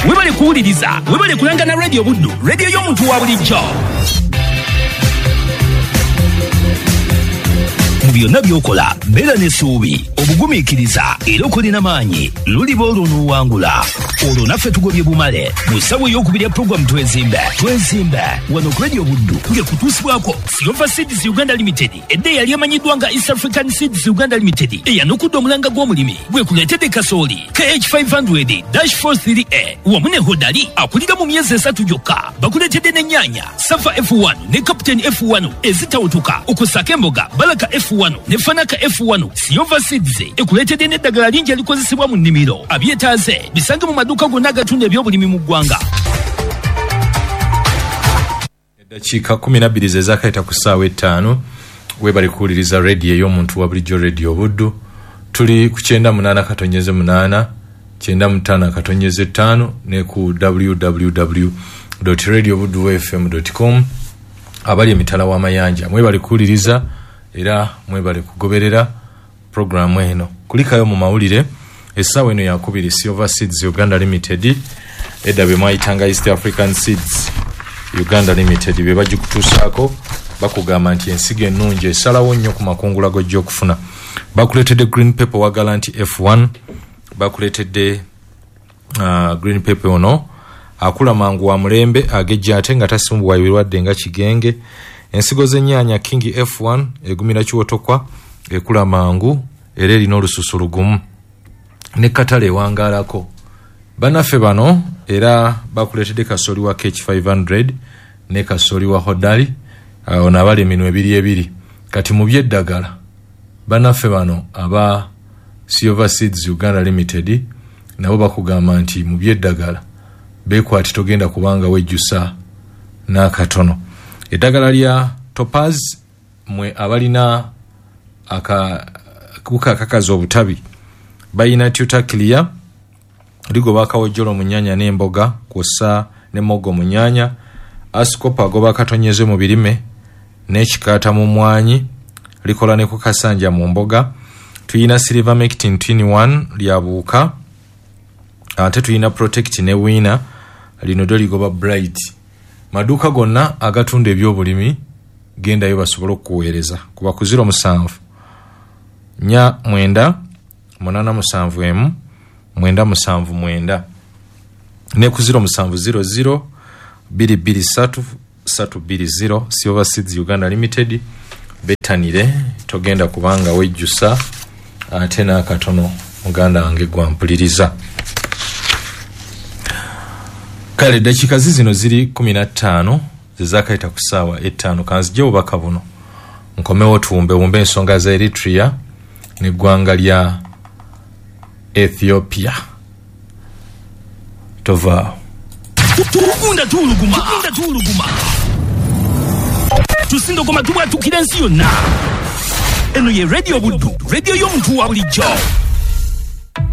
Webale kuwuliriza, webale kulanga na Radio Buddu, radio y'omuntu wa bulijjo. Mu byonna by'okola, beera n'essuubi, obugumiikiriza era okole n'amaanyi, luliba olwo n'owangula. Olwo naffe tugobye bumale mu ssaawa ey'okubiri ya puroguramu Twezimbe. Twezimbe wano ku Radio Buddu ng'ekutuusibwako Silver Seeds Uganda Limited, edda eyali emanyiddwa nga East African Seeds Uganda Limited, eyanukudde omulanga gw'omulimi gwekuleetedde kasooli KH500-43A wamu ne Hodari akulira mu myezi 3 gyokka. Bakuleetedde n'ennyaanya Safa F1 ne Captain F1 ezitawutuka, okussaako emboga Baraka F1 ne Fanaka F1. Silver Seeds ekuleetedde n'eddagala lingi erikozesebwa mu nnimiro. Abyetaaze bisange mu maduuka gonna agatunda ebyobulimi mu ggwanga. Eddakiika 12 ze zaakayita ku ssaawa 5. Webale kuwuliriza radio ey'omuntu wa bulijjo, Radio Buddu. Tuli ku 98.8, 95.5 ne ku www.radiobuddufm.com. Abali emitala w'amayanja mwebale kuwuliriza era mwebale kugoberera programu eno. Kulikayo mu mawulire essaawa eno yakubiri. Silver Seeds Uganda Limited, edda be mwayitanga East African Seeds Uganda Limited, be bagikutuusaako. Bakugamba nti ensigo ennungi esalawo nnyo ku makungula g'ojja okufuna. Bakuleetedde green pepper wa Galanti F1, bakuleetedde green pepper ono akula mangu, wa mulembe, agejja ate nga tasimbwa ebirwadde nga kigenge. Ensigo z'ennyaanya King F1 egumira kiwotokwa, ekula mangu era erina olususu lugumu ne katale ewangaalako. Bannaffe bano era bakuleetedde kasooli wa KH500 ne kasooli wa Hodari, ono abali eminwe ebiri ebiri. Kati mu by'eddagala, bannaffe bano aba Silver Seeds Uganda Limited nabo bakugamba nti mu by'eddagala beekwati, togenda kubanga wejjusa n'akatono. Eddagala lya Topaz, mwe abalina akawuka akakaza obutabi, balina Tutaclear, ligoba akawojjolo mu nnyaanya n'emboga kw'ossa ne muwogo mu nnyaanya. Ascopa agoba akatonyeze mu birime n'ekikaata mu mmwanyi, likola ne ku kasanja mu mboga. Tuyina Silvermectin Twin 1 lya buwuka, ate tuyina Protect ne Winner, lino ddyo ligoba Bright. Maduuka gonna agatunda ebyobulimi gendayo basobole okukuweereza. Kuba ku 07 49 871 979 ne ku 0700 223 320. Silver Seeds Uganda Limited, betanire, togenda kubanga wejjusa ate n'akatono. Muganda wange gwampuliriza, kale eddakiika zizino ziri 15 zezakayita ku ssaawa 5. Kanzije obubaka buno nkomewo tuwumbewumbe ensonga za Eritrea n'eggwanga lya Ethiopia. Tovaawo. Tugunda tuwuluguma, tugunda tuwuluguma, tusindogoma, tubwatukira ensi yonna. Eno ye Radio Buddu, radio y'omuntu wa bulijjo.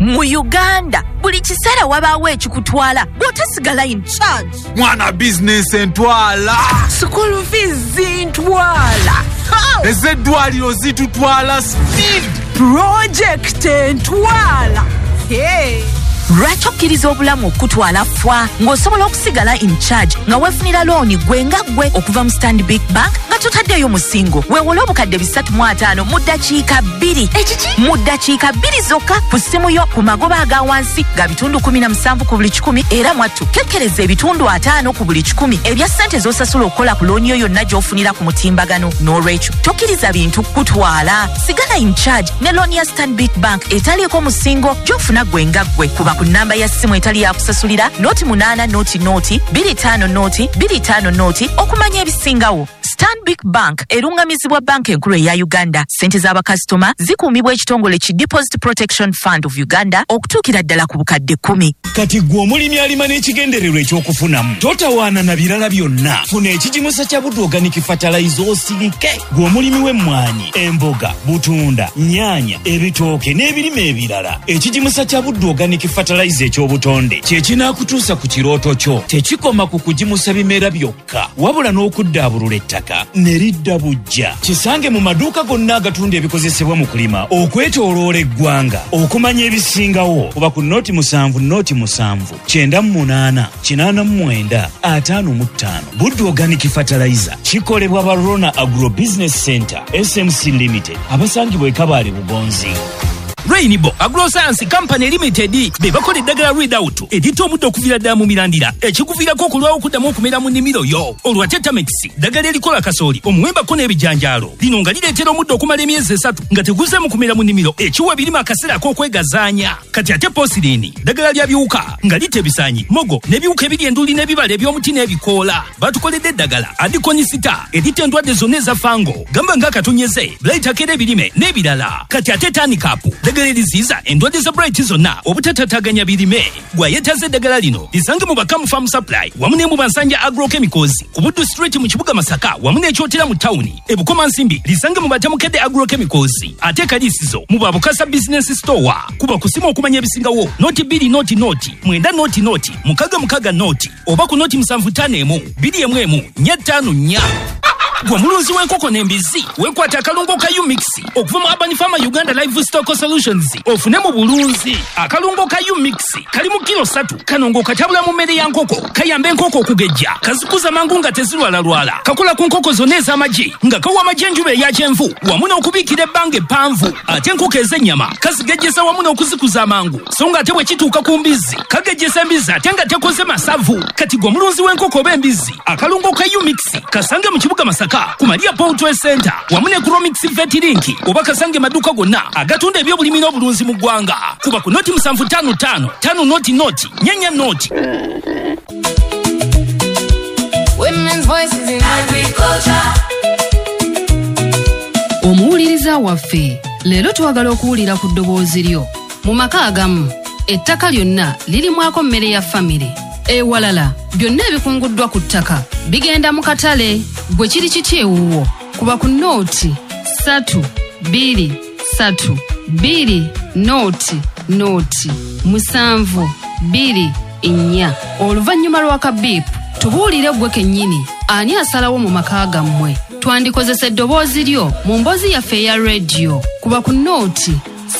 Mu Uganda buli kiseera wabaawo ekikutwala bw'otasigala in charge. Mwana, bizinesi entwala, School fees zintwala, ez'eddwaliro zitutwala speed, project entwala. Hey. Lwaki okkiriza obulamu okukutwala fwa ng'osobola okusigala in charge nga weefunira looni gwe nga ggwe okuva mu Stanbic Bank nga totaddeeyo musingo? Weewole obukadde 350 mu ddakiika 2. Ekiki? Mu ddakiika 2 zokka ku ssimu yo, ku magoba aga wansi ga bitundu 17 ku buli kikumi. Era mwattu kekkereza ebitundu 50 ku buli kikumi ebya ssente z'osasula okukola ku looni yo yonna gy'ofunira ku mutimbagano. N'olwekyo tokkiriza bintu kutwala, sigala in charge ne looni ya Stanbic Bank etaliiko musingo gy'ofuna gwe nga ggwe. Kuba ku namba ya ssimu etali yakusasulira 08 00 25 0 25 0 okumanya ebisingawo. Stanbic Bank erungamizibwa Banka Enkulu eya Uganda. Ssente z'abakasitoma zikuumibwa ekitongole ki Deposit Protection Fund of Uganda okutuukira ddala ku bukadde 10. Kati gwe omulimi alima n'ekigendererwa ekyokufunamu, totawaana na birala byonna, funa ekigimusa kya Buddu Organic Fertilizer osirike. Gwe omulimi w'emmwanyi, emboga, butunda, nnyaanya, ebitooke n'ebirime ebirala, ekigimusa kya Buddu Organic Fertilizer eky'obutonde kye kinaakutuusa ku kirooto kyo. Tekikoma ku kugimusa bimera byokka, wabula n'okuddaabulula ettaka ne lidda buggya. Kisange mu maduuka gonna agatunda ebikozesebwa mu kulima okwetooloola eggwanga. Okumanya ebisingawo kuba ku 07 07 98 89 55. Buddu Organic Fertilizer kikolebwa Barona Agro Business Center SMC Limited, abasangibwa e Kabale Bugonzi. Rainbow Agroscience Company Limited be bakola eddagala Readout eritta omuddo okuviira ddala mu mirandira, ekikuviirako okulwawo okuddamu okumera mu nnimiro yo. Olwo ate Tamex, ddagala erikola kasooli, omuwembako n'ebijanjaalo, lino nga lireetera omuddo okumala emyezi 3 nga teguzeemu kumera mu nnimiro, ekiwa ebirime akaseera ak'okwegazaanya. Kati ate Posirini, ddagala lya biwuka nga litta ebisaanyi, mogo n'ebiwuka ebiri enduli n'ebibala eby'omuti n'ebikoola. Batukoledde eddagala Adikonisita eritta endwadde zonna eza fango, gamba ng'akatonyeze, blight akera ebirime n'ebirala. Kati ate Tanikapu, ddagala eriziyiza endwadde za blight zonna obutatataganya birime. Gwayetaze eddagala lino lisange mu Bakamu Farm Supply wamu ne mu Bansanja Agrochemicals ku Buddu Street mu kibuga Masaka wamu n'Ekyotera mu tawuni. E Bukomansimbi lisange mu Batamukedde Agrochemicals, ate Kalisizo mu Babukasa Business Store. Kuba kusima okumanya ebisingawo 0 2 0 0 9 0 0 6 6 0 oba ku 0 7 5 1 2 1 1 4 5 4. Gwe mulunzi w'enkoko n'embizzi, weekwata akalungo ka Umix okuva mu Urban Farmer Uganda Livestock Solutions ofune mu bulunzi. Akalungo ka Umix kali mu kilo 3, kano ng'okatabula mu mmere ya nkoko, kayamba enkoko okugejja, kazikuza mangu nga tezirwalalwala, kakola ku nkoko zonna ez'amagi nga kawa amagi enjuba eya kyenvu wamu n'okubiikira ebbanga eppanvu. Ate enkoko ez'ennyama kazigejjesa wamu n'okuzikuza amangu, so nga ate bwe kituuka ku mbizzi kagejjesa embizzi ate nga tekoze masavu. Kati gwe omulunzi w'enkoko oba embizzi, akalungo ka Umix kasange mu kibuga Masaka ku Maria Poultry Center wamu ne Chromix Vet Link, oba kasange maduuka gonna agatunda ebyobulimi n'obulunzi mu ggwanga. Kuba ku 0 7 5 5 5 0 0 4 4 0. Women's voices in agriculture. Omuwuliriza waffe, leero twagala okuwulira ku ddoboozi lyo. Mu maka agamu ettaka lyonna lirimwako mmere ya famire, ewalala byonna ebikunguddwa ku ttaka bigenda mu katale. Gwe kiri kiti ewuwo? Kuba ku 0 3 2 3 2 0 0 7 2 4. Oluvannyuma lwa kabiipu tubuulire ggwe kennyini ani asalawo mu maka gammwe. Twandikozesa eddoboozi lyo mu mboozi yaffe eya rediyo. Kuba ku 0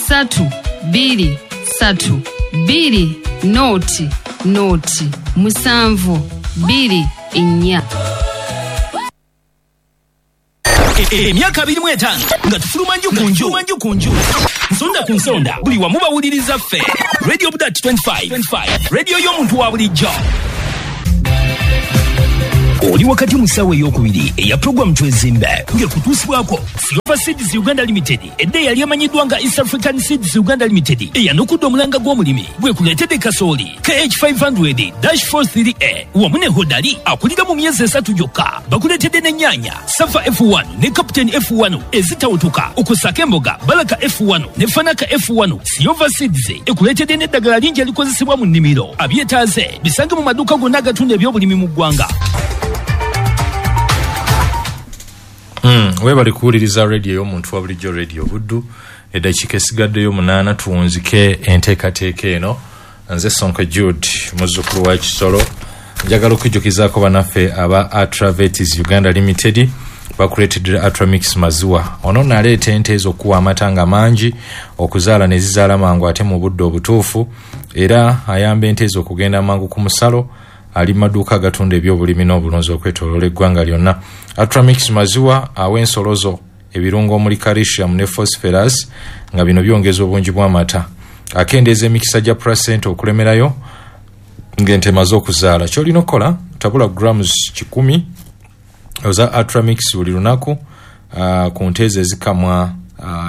3 2 3 2 0 0 7 2 4. Emyaka 25 nga tufuluma nju ku nju, nju ku nju, nsonda ku nsonda, buli wamu bawuliriza ffe. Radio Budat 25, radio y'omuntu wa bulijjo. Oli wakati mu ssaawa ey'okubiri eya puroguramu Twezimbe ng'ekutuusibwako Silver Seeds Uganda Limited, edda eyali emanyiddwa nga East African Seeds Uganda Limited, eyanukudde omulanga gw'omulimi gwekuleetedde kasooli KH500 43A wamu ne Hodali akulira mu myezi 3 gyokka. Bakuleetedde n'ennyaanya Safa F1 ne Captain F1 ezitawutuka, okusaka emboga Balaka F1 ne Fanaka F1. Silver Seeds ekuleetedde n'eddagala lingi erikozesebwa mu nnimiro. Abyetaaze bisange mu maduuka gonna agatunda ebyobulimi mu ggwanga. Webali kuwuliriza radio y'omuntu wa bulijjo, Radio Buddu. Eddakiika esigaddeyo 8 tuwunzike enteekateeka eno. Nze Sonko Jude, muzzukulu wa Kisolo. Njagala okujjukizaako bannaffe aba Atravetis Uganda Limited, bakuleetedde Atramix maziwa. Ono naleeta ente ezo okuwa amata nga mangi, okuzaala ne zizaala mangu ate mu budde obutuufu, era ayamba ente ezo okugenda mangu ku musalo. Ali maduuka agatunda ebyobulimi n'obulunzi okwetooloola eggwanga lyonna. Atramix maziwa awa ensolo zo ebirungo omuli calcium ne phosphorus, nga bino byongeza obungi bw'amata, akendeeza emikisa gya placenta okulemerayo ng'ente emaze okuzaala. Ky'olina okukola, tabula grams 100 oza Atramix buli lunaku ku nte ezo ezikamwa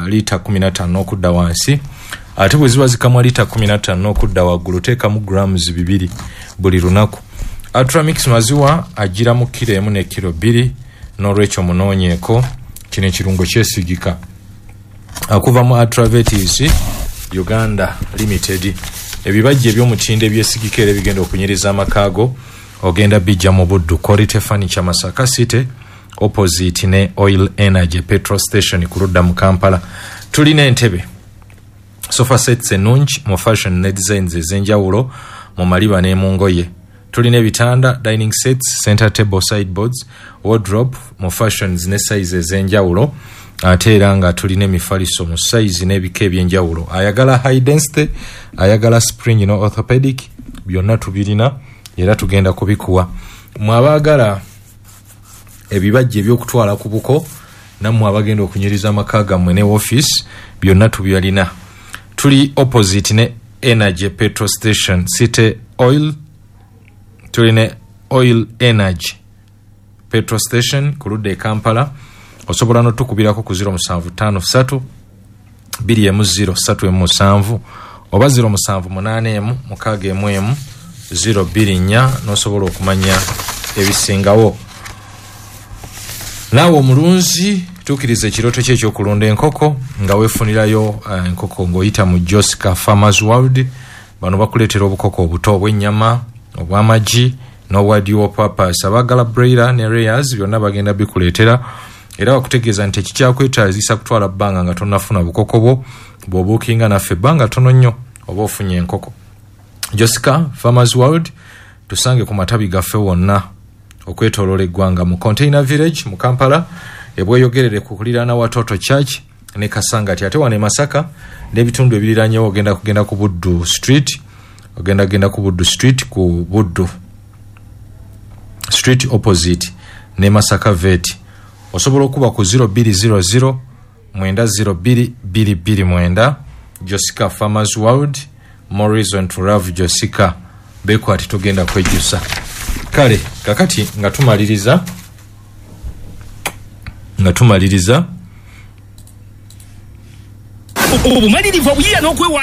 liita 15 n'okudda wansi. Ate bwe ziba zikamwa liita 15 n'okudda waggulu, teekamu grams 2 buli lunaku. Atramix maziwa agira mu kiro 1 ne kiro 2, n'olwekyo munoonyeeko. Kino ekirungo kyesigika okuva mu Atravetis Uganda Limited. Ebibajja eby'omutindo ebyesigika era ebigenda okunyiriza amakaago ogenda bijja mu Buddu Quality Furniture, Masaka City, opposite ne Oil Energy petrol station ku ludda mu Kampala. Tulina entebe Sofa sets ennungi mu fashion ne designs ez'enjawulo mu maliba ne mu ngoye. Tulina ebitanda, dining sets, center table, sideboards, wardrobe mu fashions ne size ez'enjawulo. Ate era nga tulina emifaliso mu size n'ebika ebyenjawulo. Ayagala high density, ayagala spring no orthopedic, byonna tubirina era tugenda kubikuwa. Mwe abaagala ebibajje ebyokutwala ku buko, nammwe abagenda okunyiriza amaka gammwe ne office, byonna tubyalina. Tuli opposite ne Energy petrol station, City Oil. Tuli ne Oil Energy petrol station ku ludda e Kampala. Osobola n'otukubirako ku 0753 210 317 oba 0781 611 024 n'osobola okumanya ebisingawo. Naawe omulunzi, tuukiriza ekirooto kye ekyokulunda enkoko nga weefunirayo enkoko ng'oyita mu Josca Farmers World. Bano bakuleetera obukoko obuto obw'ennyama, obw'amagi n'obwa dual purpose. Abaagala broiler ne layers byonna bagenda bikuleetera, era bakutegeeza nti ekikyakwetaazisa kutwala bbanga nga tonnafuna bukoko bwo. Bw'obuukinga naffe ebbanga tono nnyo oba ofunye enkoko. Josca Farmers World tusange ku matabi gaffe wonna okwetooloola eggwanga, mu Container Village mu Kampala, ebweyogerere ku kuliraana Watoto Church ne Kasangati. Ate wano e Masaka n'ebitundu ebiriranyewo ogenda kugenda ku Buddu Street, ogenda genda ku Buddu Street, ku Buddu Street opposite ne Masaka Vet. Osobola okuba ku 0200 902 229. Josca Farmers World, more reason to love Josca. Bekwati tugenda kwejjusa. Kale kakati nga tumaliriza obumalirivu, obuyiiya n'okwewaayo.